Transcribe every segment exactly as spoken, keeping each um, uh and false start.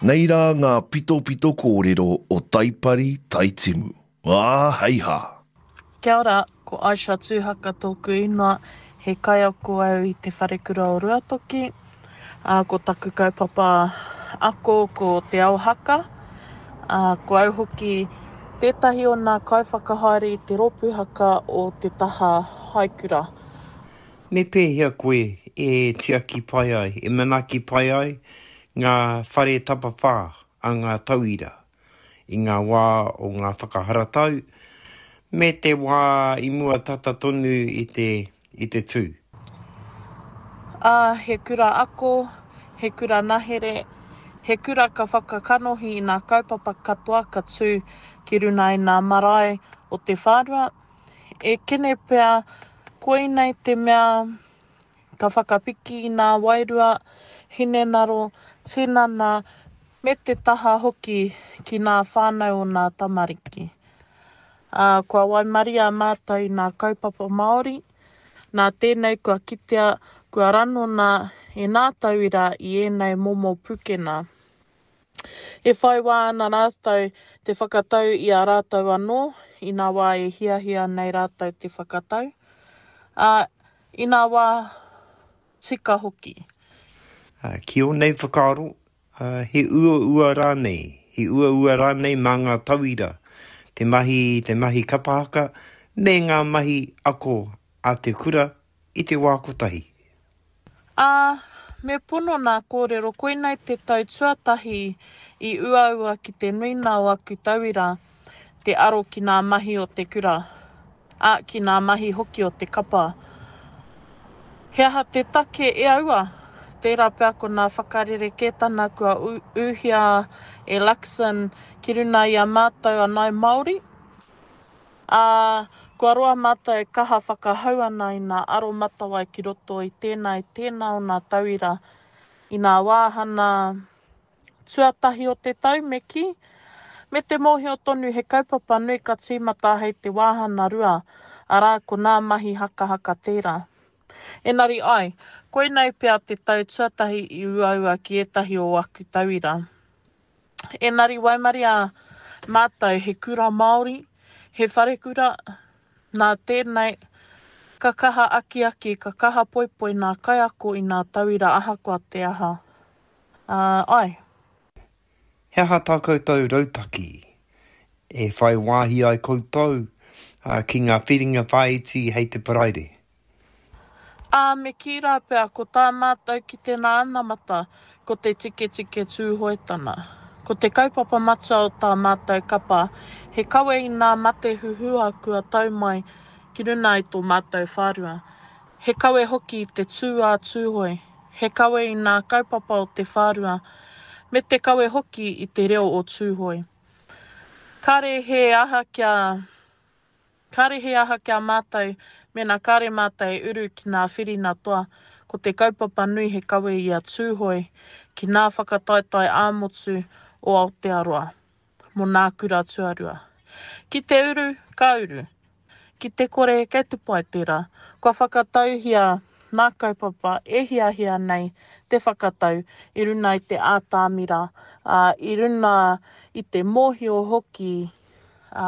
Nei rā ngā pitopito kōrero o Taipari Taitimu. Ā, hei hā! Kia ora, ko Aisha Tūhaka tōku ingoa, he kaiako au i Te Wharekura o Ruatoki. Ā, ko taku kaupapa ako ko Te Ao Haka. Ā, ko au hoki tētahi o nā kaiwhakahaere i te rōpū haka o te taha haikura. Me pēhea koe e tiaki pai ai, e manaaki pai ai ngā whare tapawhā a ngā tauira i ngā wā o ngā whakaharatau me te wā i mua tata tonu i te, i te tū? Ā, he kura ako, he kura nahere, he kura ka whakakanohi i nā kaupapa katoa ka tū ki runa i nā marae o te whārua. E kene pea koinei te mea ka whakapiki i nā wairua, hinengaro, tinana, me te taha hoki ki nā whānau o nā tamariki. Ā, kua waimaria mātou i nā kaupapa Māori, nā tēnei kua kitea, kua ranona e nā tauira i ēnei momo pukena. E whai wā ana rātou te whakatau i a rātou anō, i nā wā e hiahia nei rātou te whakatau. Ā, i nā wā tika hoki. Ā, ki ō nei whakaaro, ā, he uaua rānei, he uaua rānei mā ngā tauira te mahi, te mahi kapa haka me ngā mahi ako a te kura i te wā kotahi? Ā, me pono nā kōrero, koinei te tau tuatahi i uaua ki te nuinga o aku tauira te aro ki nā mahi o te kura, ā, ki nā mahi hoki o te kapa. He aha te take e aua? Tērā pea ko nā whakarerekētana kua ūhia e Luxon ki runa i a mātou a Ngāi Māori. Ā, kua roa mātou e kaha whakahau ana i nā aromatawai ki roto i tēnā i tēnā o nā tauira i nā wāhana tuatahi o te tau, me kī, me te mōhio tonu he kaupapa nui ka tīmata hei te wāhana rua, arā, ko nā mahi hakahaka tērā. Engari ai, koinei pea te tau tuatahi i uaua ki ētahi o aku tauira. Engari waimaria mātou he kura Māori, he wharekura, nā tēnei, ka kaha akiaki, ka kaha poipoi nā kaiako i nā tauira ahakoa te aha. Ā, ai. He aha tā koutou rautaki e whai wāhi ai koutou ki ngā whiringa whāiti hei te Paraire? Ā, me kī rā pea, ko tā mātou ki te nā anamata, ko te tiketike Tūhoetana. Ko te kaupapa matua o tā mātou kapa, he kawe i nā mate huhua kua tau mai ki runa i tō mātou whārua. He kawe hoki i te tū a Tūhoe, he kawe i nā kaupapa o te whārua, me te kawe hoki i te reo o Tūhoe. Kāre he aha kia. Kāre he aha ki a mātou, mēnā kāre mātou e uru ki nā whirina toa, ko te kaupapa nui he kawe i a Tūhoe ki nā whakataetae ā-motu o Aotearoa, mō nā kura tuarua. Ki te uru, ka uru. Ki te kore, kei te pai tērā. Kua whakatauhia nā kaupapa e hiahia nei te whakatau i runa i te ātamira, ā, i runa i te mōhio hoki, ā,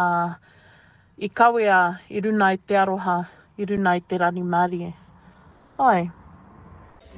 i kawea i runa i te aroha, i runa i te rangimārie. Āe.